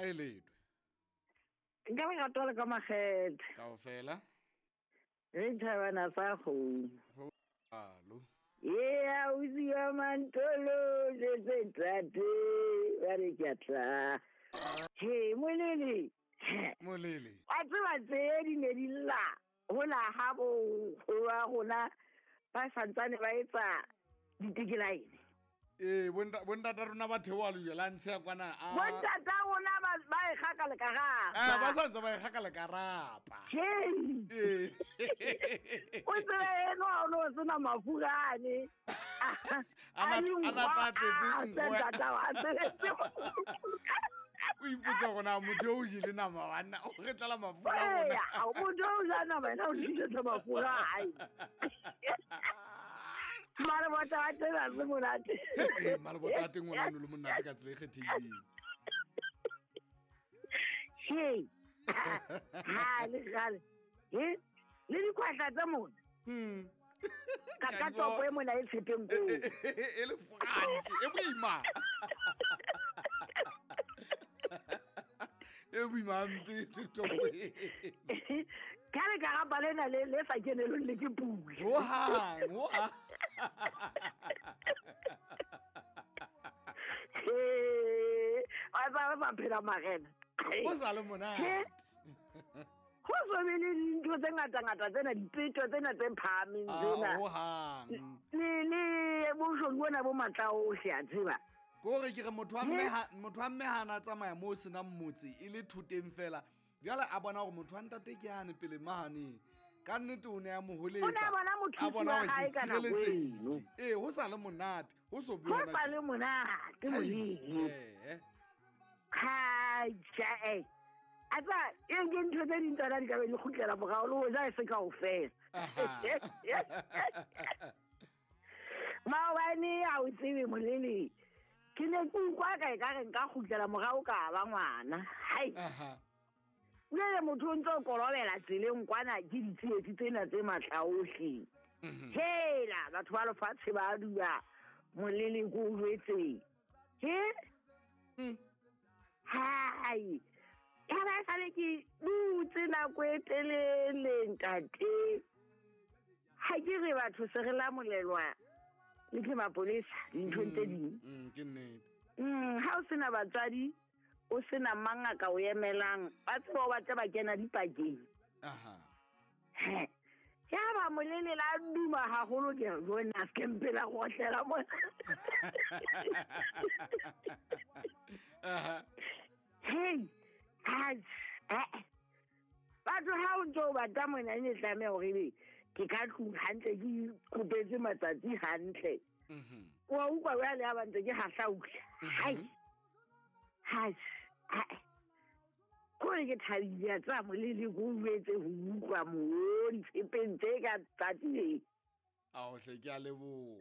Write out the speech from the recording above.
Ha e letwe. Nka re ratola ka makgethe. Kaofela. Re thabana sa kgomo. Alo. Ea ausi wa Mantolo jetse tate ba re ke a tla. He molele. Molele. Wa tseba tse di ne di lla hola ha bo wa rona ba santsane ba etsa ditekelaene. Ee, bontata rona ba theoa lejwe la ntshe ya kwana. Bontata rona ba e kgaka le karapa. Ba santse ba e kgaka le karapa. Ee. O tsebe eno ha o no sena mafurane. A na tla tletse nkgo. O ipotsa gore na motho o jele nama banna o re tlala mafura a rona. Motho o ja nama ena o tlisetsa mafura a hae. Malebota a teng a se monate. Ee, malebota a teng ona o ne le monate ka tsela e kgethehileng. He. Ha le gale. He. Le dikwahla tsa mona. Ka ka topo e mona e tshepeng koo. E le fogadi e boima. E boima mpe topo e. Ka le karapa lena le le sa kenelong le ke pula. Hohang, hohang. Ee, wa tsaba ba phela marena. O sa le monate. Ho so be le dintho tse ngata-ngata tsena, dipeto tsena tse phahameng tsena. Hohang. Le boshodu bona bo matla ohle, a tseba. Kore ke re motho wa mme ha na tsamaya moo senang motse e le thoteng fela. Jwale a bona hore motho wa ntate ke yane pele mahane. Ka nnete o ne a mo holetsa. O ne a bona motho wa hae ka nako eno. Ee, ho sa le monate. Ho so be Ho sa le monate molemo. Ha ja. A tsa e ke ntho tse ding tsona di ka be di kgutlela morao le hoja e se kaofela. Maobane ha o tsebe molele. Ke ne ke utlwa ka e ka re nka kgutlela morao ka ba ngwana. Hai. Jwale motho o ntse o korobela tseleng kwana ke ditsietsi tsena tse matla ohle. Hela batho ba lefatshe ba dula molele ko o jwetseng. He? Hai. Ya ba sale ke dutse nako e telele ntate. Ha ke re batho se re lamolelwa le ke mapolesa dinthong tse ding. Ke nnete. Ha o sena batswadi o sena mangaka o emelang ba tseba o batla ba kena dipakeng. He. Ya ba molele la duma haholo ke bona se mpela go otlela mo. Hey. Batho ha o ntse o batla mona ne tlameha hore ebe ke ka tlung hantle ke kopetse matsatsi hantle. Wa utlwa jwale ha ba ntse ke hahlaula. Hai. Hai. Kore ke thabile a tsa molele ko uetse ho utlwa mo ditshepeng tse ka tsatsi le. Ao hle ke a leboha.